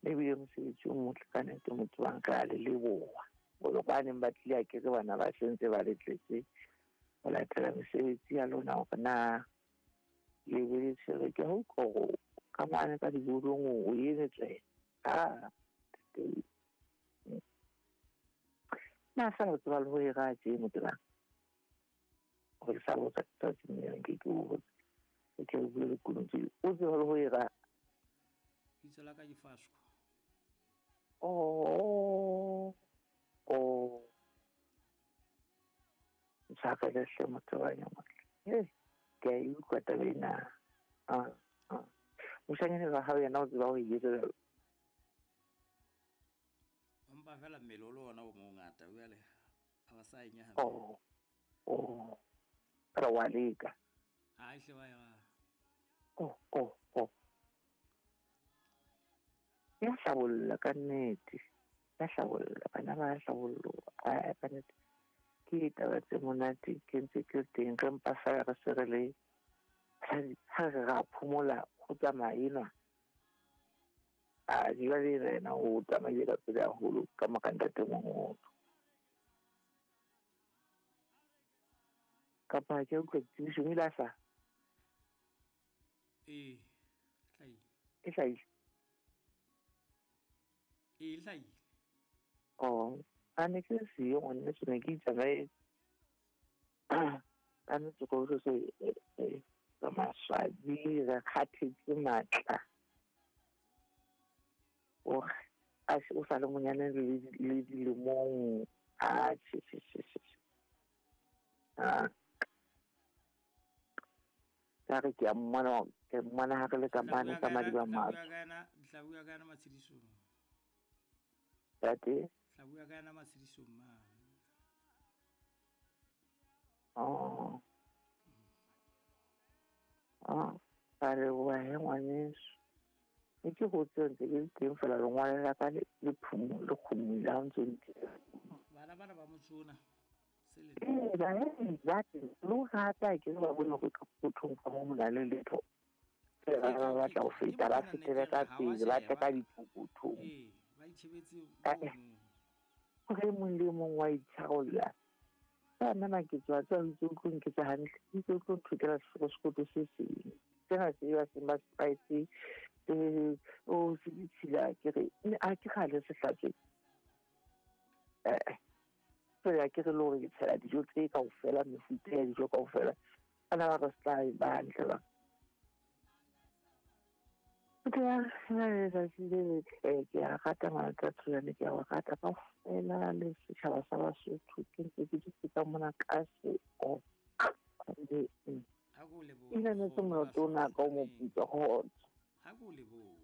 Ebile mosebetsi o motle ka nnete motho wa nka a le leboha. Bolo ba neng ba tlile a kere bana ba sentse ba le tletse ho latela mesebetsi ya lona hore na le be le tshwere. Ke a utlwa hore ka mane ka dibolong o eme tswe. Ah, na fela o tseba le ho e raya tje motho bang. Hore ke sa botsa tsatsing lena nke ke o botse. Ke tle re bue lekunutu. O tseba le ho e raya. Bitso la ka ke Fasco. Oh, oh. Ntshwarele hle motho wa motle. Hey, ke a e utlwa taba ena. Ah, ah. Moshanyana wa hao yena o tseba ho e etsa jwalo? Empa fela mmele o le ona o mongata jwale a ba sa e nyahame. Oh, oh. Fela wa leka. Ha hle wa e raya. Oh, oh, oh. Ya hlabolla ka nnete. Ya hlabolla, bana ba hlabolloha. Ae, ka nnete. Ke taba tse monate ke ntse ke le teng re mpa fela re se re le ha re ra phomola ho tsamaya enwa. A jwale yena o tsamaile ka pele haholo ka mora ntatemoholo. Kapa ke utlwa ditsebiso o ile a hlaha? Ee, hlahile. E hlahile? Ee, e hlahile. Oh, a ne ke siyo ngwaneso, ne ke itsamaetse. Ka nnete ko se ka maswabi re kgathetse matla. Ore a o sa le monyane le dilemong. Ah, che, che, che, che. Ah. Ka re ke a mmona, ke mmona ha re le ka mane ka madiba matsho. Tla bua ka yena matshedisong. Tate? Tla bua ka yena matshedisong mane. Oh. Ah, ka leboha he ngwaneso. Ne ke hotse ntse ke le teng fela lengwalo la ka le phumo le kgomile ha ntse ntse. Bana bana ba motsona. Ee, ba ba le ho rata ke ba bone hore ka pokothong ka mo ho na le letho. Ba ba batla ho feta ba fetele ka pele ba tle ka dipokothong. Ee, ba itjhebetse mono. Hore e mong le mong wa itshwarolla. Ka nna ke tswa tswa itse o tlo nketsa hantle, itse o tlo nthokela sekoto se seng. Sena se ba seng ba spice o se ditshila ke re a ke kgale se hlatswe. Fela ke re le hore ke tshela dijo tse kaofela, mefuta ya dijo kaofela. Bana ba re se tla ba hantle ba. Ke a letsatsi le letle, ke a rata matsatsi a ke a o rata kaofela le setjhaba sa Basotho. Ke ntse ke dutse ka mona ka se o. Ha ko lebohe. Ile ne se molato ona ka o moputso kgotso. Ha ko lebohe.